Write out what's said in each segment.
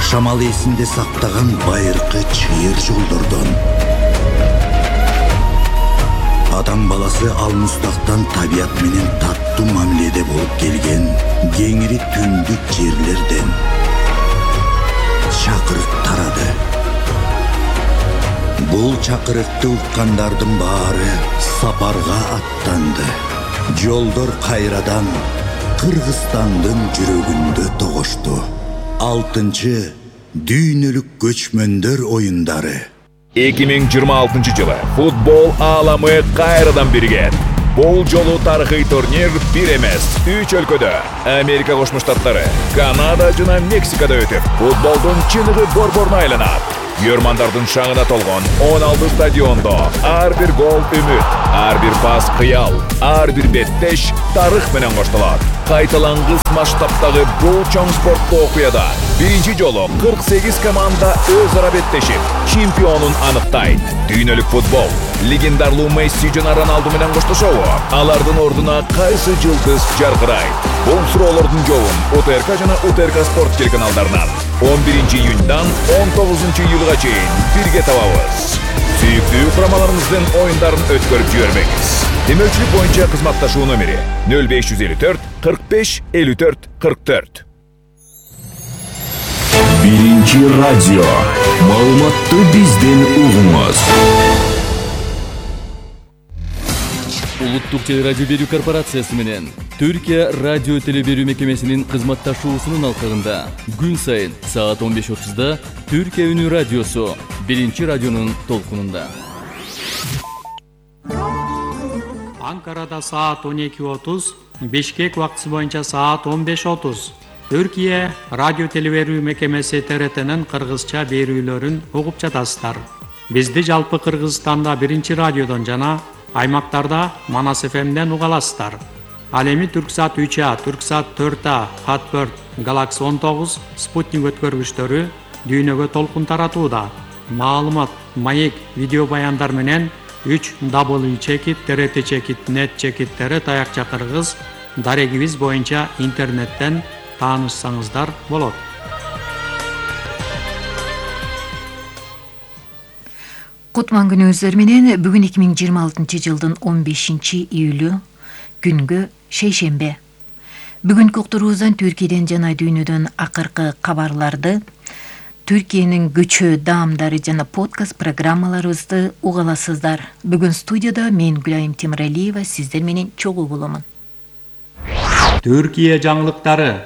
Жашамал эсинде сактаган байыркы чыйыр жолдордон. Адам баласы алмустактан табият менен таттуу мамиледе болуп келген кеңири түндүк жерлерден чакырык тарады. Бул чакырыкты уккандардын баары сапарга аттанды. Жолдор кайрадан Кыргызстандын жүрөгүндө тогошту. 6-чы дүйнөлүк көчмөндөр оюндары. 2026 жылы футбол ааламы кайрадан бирген. Бул жолу тарыхый турнир бир эмес, 3 өлкөдө Америка Кошмо Штаттары, Канада жана Мексикада өтүп, футболдун чыныгы борборуна айланат. Көрмандардын шаңына толгон 16 стадиондо ар бир гол үмүт, ар бир пас кыял, ар бир беттеш тарых менен коштолот. Кайталангыс масштабтагы бул чоң спорттуу окуяда биринчи жолу 48 команда өз ара беттешип, чемпионун аныктайт. Дүйнөлүк футбол легендарлуу Месси жана Роналду менен коштошобу? Алардын ордуна кайсы жылдыз жаркырайт? Бул суроолордун жообун УТРК жана УТРК спорт телеканалдарынан 11 июньдан 19 июлга чейин бирге табабыз. Сүйүктүү курамаларыбыздын оюндарын өткөрүп жибербеңиз. Демөүчүлүк боюнча кызматташуу номери 0554 45 54 44. Биринчи радио. Маалыматты бизден угуңуз. Улуттук телерадио берүү корпорациясы менен Түркия радио телеберүү мекемесинин кызматташуусунун алкагында күн сайын саат 15:30да Түркия үнү радиосу биринчи радионун толкунунда. Анкарада саат 12:30, Бишкек убактысы боюнча саат 15:30. Түркия радио телеберүү мекемеси ТРТнын кыргызча берүүлөрүн угуп жатасыздар. Бизди жалпы Кыргызстанда биринчи радиодон жана аймактарда Манас ФМден уга аласыздар. Ал эми Түрксат 3А, Түрксат 4А, Хатберт, Galaxy 19, Спутник өткөргүчтөрү дүйнөгө толкун таратууда. Маалымат, маек, видео баяндар менен 3w.trt.net таякча кыргыз дарегибиз боюнча интернеттен таанышсаңыздар болот. Кутман күнүңүздөр менен бүгүн 2026 жылдын 15 июлү күнгө шейшембе. Бүгүнкү уктуруубуздан Түркияден жана дүйнөдөн акыркы кабарларды, Түркиянын көчө даамдары жана подкаст программаларыбызды уга аласыздар. Бүгүн студияда мен Гүлайым Темиралиева сиздер менен чогуу боломун. Түркия жаңылыктары.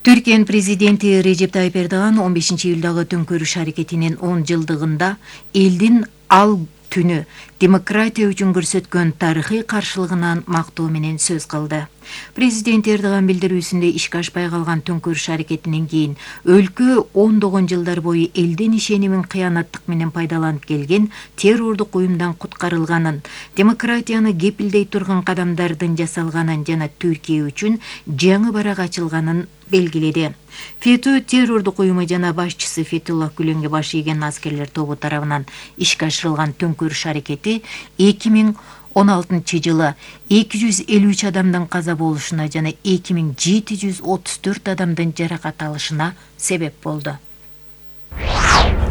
Түркиянын президенти Режеп Тайып Эрдоган 15 июлдагы төңкөрүш аракетинин 10 жылдыгында элдин ал түнү демократия үчүн көрсөткөн тарыхый каршылыгынан мактоо менен сөз кылды. Президент Эрдоган билдирүүсүндө ишке ашпай калган төңкөрүш аракетинен кийин өлкө ондогон жылдар бою элдин ишенимин кыянаттык менен пайдаланып келген террордук уюмдан куткарылганын, демократияны кепилдей турган кадамдардын жасалганын жана Түркия үчүн жаңы барак ачылганын белгиледи. ФЕТÖ террордук уюму жана башчысы Фетуллах Гүленге баш ийген аскерлер тобу тарабынан ишке ашырылган төңкөрүш аракети 2016 жылы 253 адамдын каза болушуна жана 2734 адамдын жаракат алышына себеп болду.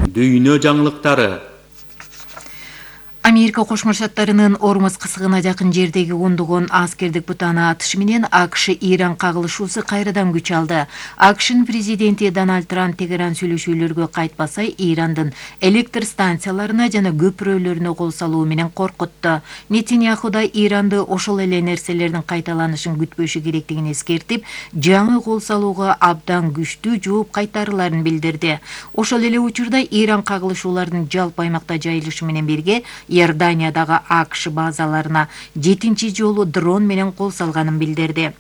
Дүйнө жаңылыктары. Америка Кошмо Штаттарынын Ормуз кысыгына жакын жердеги ондогон аскердик бутаны атышы менен АКШ-Иран кагылышуусу кайрадан күч алды. АКШнын президенти Дональд Трамп Тегеран сүйлөшүүлөргө кайтпаса, Ирандын электр станцияларына жана көпүрөлөрүнө кол салуу менен коркутту. Нетаньяху да Иранды ошол эле нерселердин кайталанышын күтпөшү керектигин эскертип, жаңы кол салууга абдан күчтүү жооп кайтарыларын билдирди. Ошол эле учурда Иран кагылышуулардын жалпы аймакта жайылышы менен бирге Иорданиядагы АКШ базаларына 7-чи жолу дрон менен кол салганын билдирди.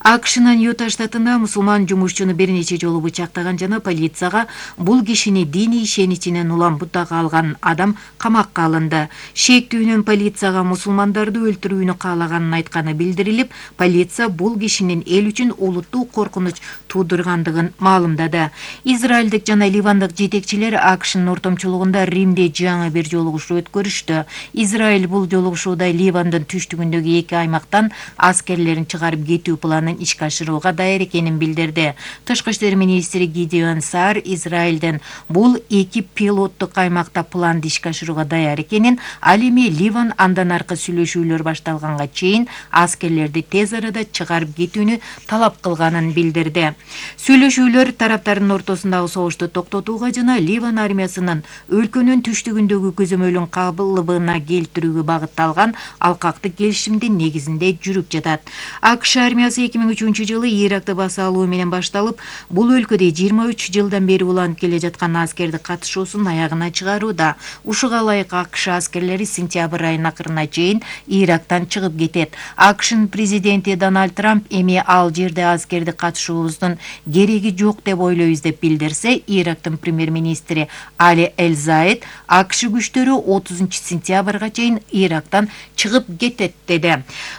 АКШнын Юта штатында мусулман жумушчуну бир нече жолу бычактаган жана полицияга бул кишини диний ишеничинен улам бутага алган адам камакка алынды. Шектүүнүн полицияга мусулмандарды өлтүрүүнү каалаганын айтканы билдирилип, полиция бул кишинин эл үчүн улуттуу коркунуч туудургандыгын маалымдады. Израилдик жана ливандык жетекчилер АКШнын ортомчулугунда Римде жаңы бир жолугушуу өткөрүштү. билдирди. Израиль бул жолугушууда Ливандын түштүгүндөгү эки аймактан аскерлерин чыгарып кетүү планын ишке ашырууга даяр экенин билдирди. Тышкы иштер министри Гидеон Саар Израилдин бул эки пилоттук аймакта планды ишке ашырууга даяр экенин, ал эми Ливан андан аркы сүйлөшүүлөр башталганга чейин аскерлерди тез арада чыгарып кетүүнү талап кылганын билдирди. Сүйлөшүүлөр тараптардын ортосундагы согушту токтотууга жана Ливан армиясынын өлкөнүн түштүгүндөгү көзөмөлүн кабылыбына келтирүүгө багытталган алкактык келишимдин негизинде жүрүп жатат. АКШ армиясы 2003 жылы Иракты баса алуу менен башталып, бул өлкөдө 23 жылдан бери уланып келе жаткан аскерди катышуусун аягына чыгарууда. Ушуга ылайык АКШ аскерлери сентябрь айынын акырына чейин Ирактан чыгып кетет. АКШнын президенти Дональд Трамп эми ал жерде аскерди катышуубуздун кереги жок деп ойлойбуз деп билдирсе, Ирактын премьер-министри Али Эль-Заид АКШ күчтөрү 30 сентябрга чейин Ирактан чыгып кетет деди.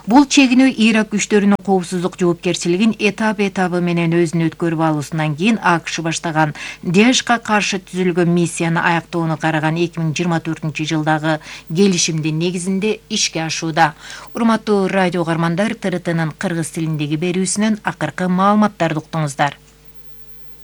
Бул чегинүү Ирак күчтөрүнүн коопсуздук жоопкерчилигин этап-этабы менен өзүнө өткөрүп алуусунан кийин АКШ баштаган ДАЭШка каршы түзүлгөн миссияны аяктоону караган 2024 жылдагы келишимдин негизинде ишке ашууда. Урматтуу радио угармандар, ТРТнын кыргыз тилиндеги берүүсүнөн акыркы маалыматтарды уктуңуздар.